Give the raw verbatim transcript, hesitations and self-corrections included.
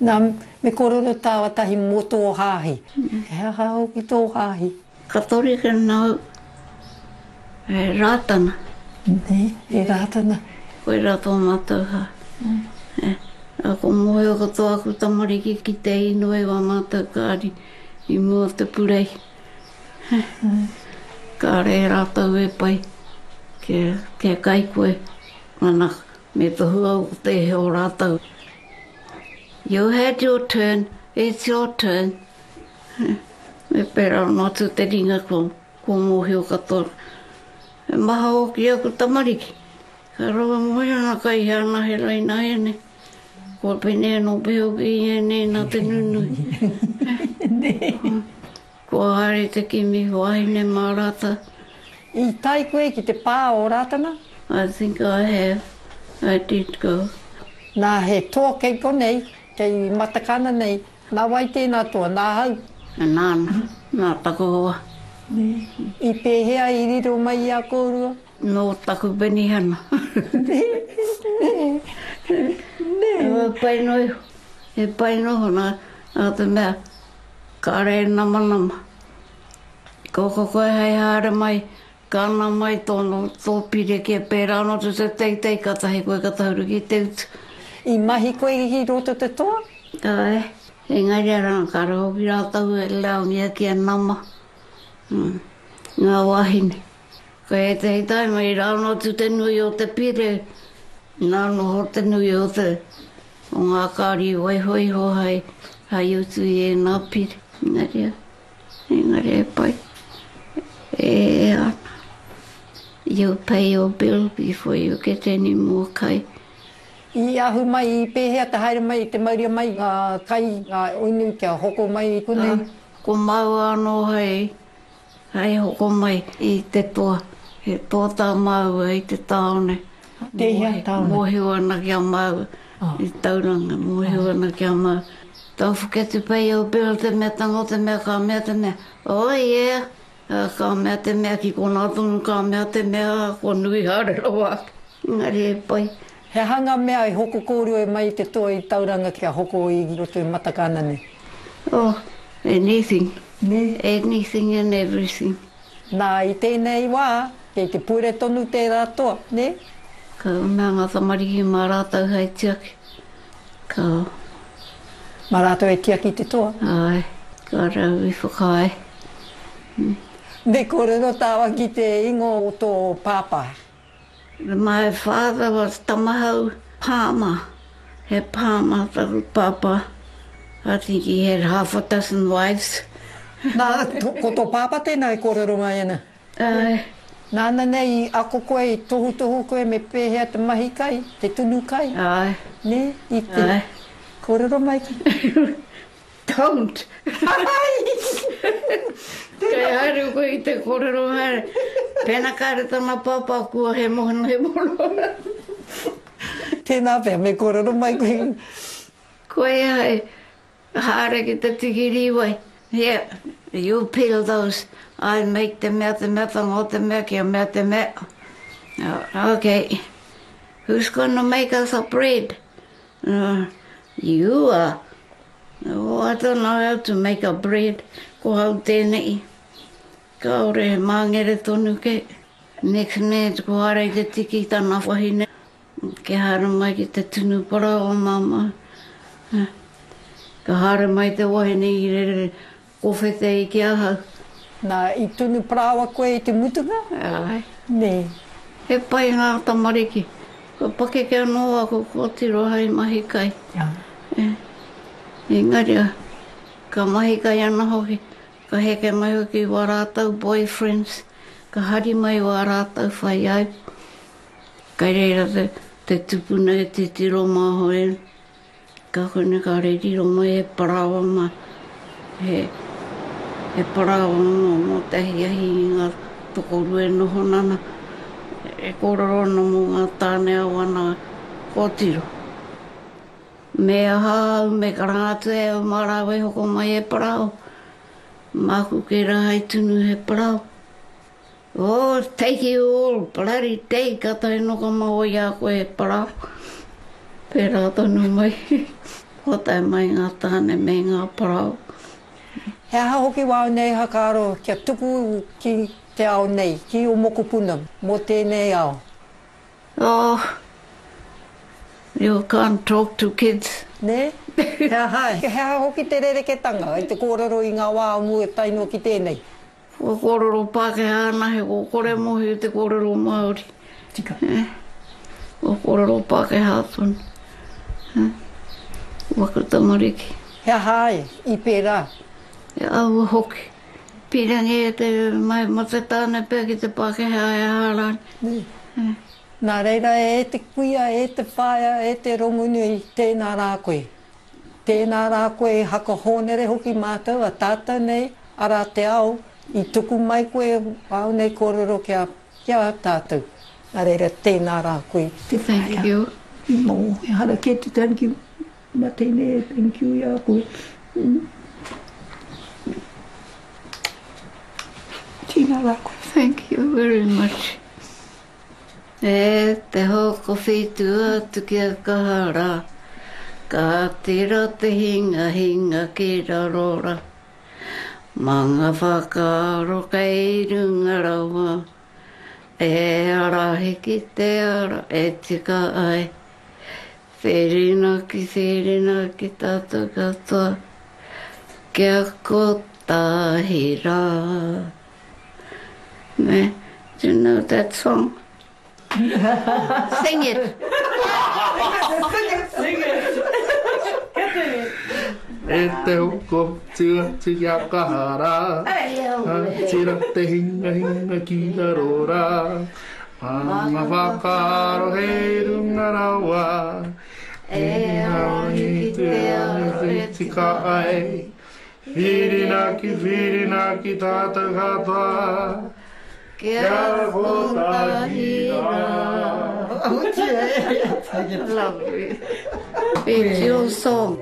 Nā, me kōrero tāua tahi mō tō hāhi. He aha hoki tō hāhi? Katorika nāu, he Rātana. Nē, he Rātana. Koirā tō mātou hāhi. Mm. Ko mōhio katoa aku tamariki ki te inoi wā mātou kāri i mua te purei. Mm. Kāre rātou e pai kia, kia kai koe. Mana, me tohu au ko tēhea o rātou. You had your turn, it's your turn. Me pērā noa atu te ringa kua, kua mōhio katoa. E maha hoki aku tamariki. Ka rawa mōhio ana kai hea ana he raina ēnei. Kua pēnei anō pea hoki i ēnei nā te nunui. Kua haere te kimi wāhine mā rātou. I tae koe ki te pā o Rātana? I think I have. I did go. Nā, he toa kei konei, kei Matakana nei. Nā wai tēnā toa? Nā hau? Nāna, nā taku hoa. Nē. I pēhea i riro mai i a kōrua? Nō taku penihana. Nē, nē, nē. E pai noa iho. E pai noa iho nā, nā te mea, kāre e namanama. Ko ko koe hei haere mai, ka ana mai tōna, tō pire kia pērā anō te te teitei, kātahi koe ka tahuri ki te utu. I mahi koe ki roto te toa? Āe, engari arā, kāre hoki rātou e laongia kia nama, ngā wāhine. Ko ētehi taima i rāono atu te nui o te pire, nā noho te nui o te, o ngā kāri i waiho iho hai, hai utu i ēnā pire. Engari, engari e pai, e ea ana. You pay your bill before you get any more kai. I ahu mai, i pēhea te haere mai, te mauria mai ngā kai, ngā inu kia hoko mai i konei? Ko māua anō hei, hei hoko mai i te toa. He toa tā māua i te tāone. Tēhea tāone? Mōhio ana ki a māua i Tauranga, mōhio ana ki a māua. Don't forget to pay your bill, te mea tango, te mea ka mea, te mea, oh yeah! Ka mea te mea ki konā tonu, ka mea te mea, kua nui haere rawa ake. Engari e pai. He aha ngā mea i hoko kōrua mai i te toa i Tauranga kia hoko i roto i Matakana nei? Oh, anything. Nē? Anything and everything. Nā, i tēnei wā, kei te pure tonu tērā toa, nē? Ka mea ngā tamariki mā rātou hei tiaki. Ka. Mā rātou e tiaki te toa? Āe, ka rau i whakaae. Me kōrero tāua ki te ingoa o tō pāpā. My father was Tamahau Palmer. He Palmer taku pāpā. I think he had half a dozen wives. Nā, ko tō pāpā tēnā e kōrero mai ana? Āe. Nāna nei i ako koe, i tohutohu koe me pēhea te mahi kai, te tunu kai? Āe. Nē, i te. Āe. Kōrero mai ki. Don't! Kei haere koe i te kōrero haere. Pēnā kāre tana pāpā kua he moana he moana. Tēnā pea, me kōrero mai koe. Koia hei haere ki te tiki rīwai. Here, you peel those, I make te mea, te mea, tango te mea, kia mea te mea. Okay, who's gonna make us a bread? Uh, you are. Oh, I don't know how to make a bread. Ko hau tēnei. Kāore he māngere tonu ke. Next minute ko haere i te tiki tana wahine. Kia haere mai ki te tunu parāoa māmā. Ka haere mai te wahine i rere kowhete i ki ahau. Nā, i tunu parāoa koe i te mutunga? Āe. Nē. He pai ngā tamariki. Kua pakeke anō aku kōtiro hei mahi kai. Āe. Engari, ka mahi kai ana hoki, ka heke mai hoki wā rātou boyfriends, ka hari mai wā rātou whaiāipo. Kei reira te, te tupuna e titiro māhoi ana. Ka kone kāre i riro mai he parāoa mā, he, he parāoa mō, mō te ahiahi i ngā tokorua e noho nana, e kōrero ana mō ngā tāne a wana kōtiro. Me aha au, me karanga atu e au mā rāua e hoko mai he parāoa. Māku kē rā hei tunu he parāoa. Oh, take you all bloody day, kātahi noa ka maoa i a koe he parāoa. Pērā tonu mai. Kua tae mai ngā tāne me ngā parau. He aha hoki wāu nei whakaaro kia tuku ki te ao nei, ki ō mokopuna mō tēnei ao? Oh, you can't talk to kids. Nē? He aha, he aha hoki te rereketanga i te kōrero i ngā wā o mua tae noa ki tēnei? Kua kōrero Pākehā anahe, kua kore mōhio te kōrero Māori. Tika. Eh, kua kōrero Pākehā tonu. Eh, waku tamariki. He aha ai i pērā? E aua hoki. Pīrangi e te mai ma te tāne pea ki te Pākehā e aha rānei. Nē. Eh. Nā reira e te kuia, e te whaea, e te rongonui, tēnā rā koe. Tēnā rā koe e hakahōnere hoki mātou a tātou nei, arā te ao, i tuku mai koe āu nei kōrero ki a, ki a tātou. Nā reira, tēnā rā koe te Thank whaea. you. Nō, ehara kē te thank you, mā tēnei e thank you i a koe. Mm. Tēnā rā koe. Thank you very much. E te hokowhitu atu kia kaha rā, ka tira te hinga hinga ki raro rā. Mā ngā whakaaro kei runga rawa, e ārahi ki te ara e tika ai. Whirinaki, whirinaki tātou katoa, kia kotahi rā. Me, do you know that song? Sing it! Sing it! Get it! E te hoko tua atu kia kaha rā, Ka tira te hinga hinga ki raro rā, Mā ngā whakaaro hei runga rawa, E ārahi ki te ara e tika ai, Whirinaki, whirinaki tātou katoa, Kia kotahi rā. Lovely. It's your song.